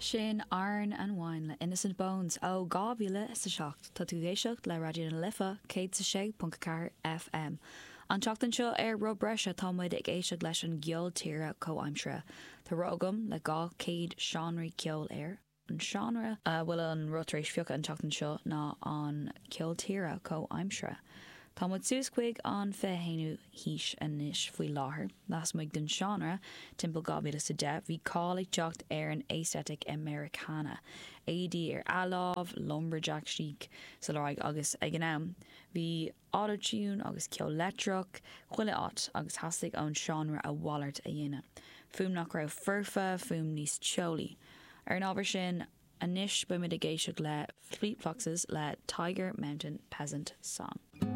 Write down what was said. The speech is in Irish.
Sin Iron and Wine le Innocent Bones ó 2007. Tá tú ag éisteacht le Raidió na Life 106.4 FM. An tseachtain seo ar Roth Breise tá muid ag éisteacht leis an gceol tíre comhaimseartha. Tá roth agam le 200 seánraí ceoil air. An seánra a bhfuil an roth tar éis phiocadh an tseachtain seo ná an ceol tíre comhaimseartha. Tá muid suas chuig an 21ú haois anois faoi láthair. Lasmuigh den seánra, timpeall 2010, bhí cáil ag teacht ar an aesthetic Americana, éadaí ar athlámh, lumberjack chic sa lorg agus ag an am, bhí auto-tune agus ceol leictreach chuile áit agus theastaigh ón seánra a mhalairt a dhéanamh. Fuaim nach raibh foirfe, fuaim níos teolaí. Ar an ábhar sin, anois beimid ag éisteacht le Fleet Foxes le Tiger Mountain Peasant Song.